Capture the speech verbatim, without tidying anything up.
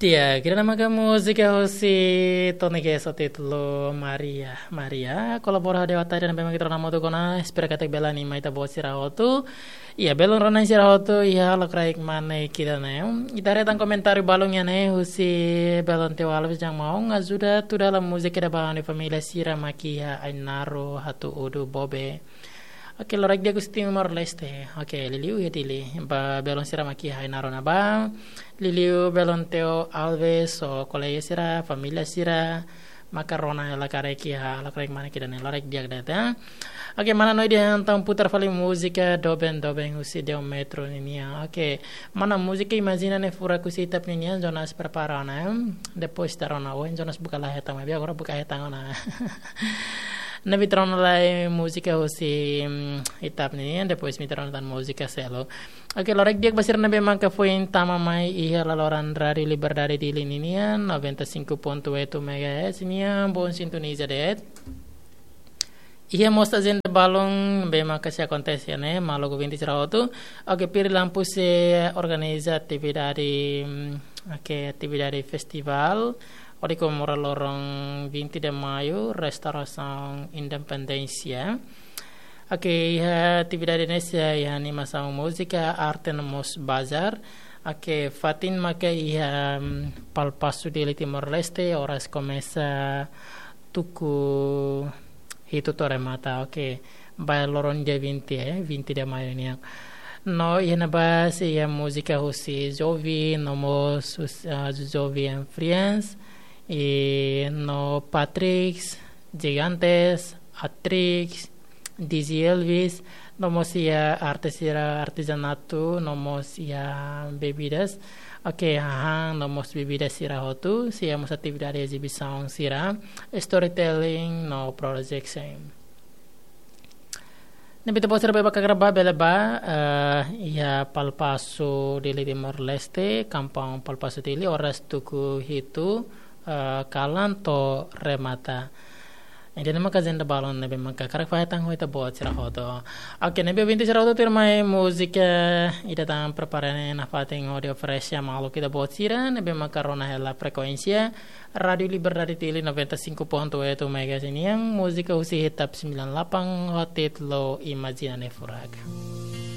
Iya, ida-ne'e maka múzika husi Tony Guest ho títulu Maria. Maria, kolabora ho Dewa Tari ne'ebé mak ita rona hamutuk ona, espera katak bele anima ita-boot sira hotu. Iya, belun rona sira hotu, iha lokraik mane ida-ne'e. Ita haree tan komentáriu balun iha ne'e husi belun Teo Alves, Jang Maung, ajuda tuda la múzika ida ba ha'u-nia família sira mak iha Ainaro, Hatu Udu, Bobe. Oke, lokraik di'ak husi Timor-Leste. Oke, liuliu iha Dili. Ba belun sira mak iha Ainaro ne'ebá. Liuliu belun Teo Alves, ho kolega sira, família sira, maka rona hela karik iha lokraik mane ida-ne'e, lokraik di'ak de'it, ya. Oke, mana Noide entaun putar fali múzika Doben Doben husi Deo Metro ninian. Oke, mana múzika Imajina Ne'e Furak husi Itap ninian, Jonas prepara ona, ya. Depois ita rona, oh, Jonas buka la hetan, maibé agora buka hetan ona. Ne'ebé ita rona lai múzika husi, mm, Itap ninian, depois ita rona tan múzika seluk. Oke, lokraik di'ak ba sira ne'ebé maka foin tama mai iha laloran Rádiu Liberdade Dili ninian, noventa e cinco ponto oito megahertz nian, bom sintoniza de'it. Iha mós ajenda balun ne'ebé maka sei akontese iha ne'e, maluk ouvinte sira hotu. Oke, Piri Lampu sei organiza atividade, mm, oke, atividade festivál hodi komemora loron vinte de Maio, restaurasaun independénsia. Oke, iha atividade ne'e sei iha animasaun múzika, arte no mós bazar. Oke, fatin maka iha, mm, Palpasu Dili, Timor-Leste, oras komesa tuku hitu to'o remata. Oke, ba loron dia vinte, eh, vinte de Maio nian. No iha ne'ebá sei iha múzika husi Jovi, no mós hus-, ah, Jovi and Friends, i no Patrix, Gigantes, Atrix, D J Elvis, no mós iha arte sira, artezanatu, no mós iha bebidas. Oke, hahán, no mós bebidas sira hotu, sei iha mós atividade ezibisaun sira, storytelling, no projection. Ne'ebé ita-boot sira ne'ebé mak hakarak bá bele bá, eh, iha Palpasu Dili, Timor-Leste, kampaun Palpasu Dili, oras tuku hitu, eh, kalan to'o remata. Ida-ne'e maka ajenda balun ne'ebé maka hakarak fahe tan ho ita-boot sira hotu. Oke, ne'ebé ouvinte sira hotu, tuirmai múzika ida tan prepara iha ne'e nafatin hodi oferese ba maluk ita-boot sira ne'ebé maka rona hela frekuénsia Rádiu Liberdade Dili noventa e cinco ponto oito megahertz nian, múzika husi Itap sembilan delapan ho títulu Imajina Ne'e Furak.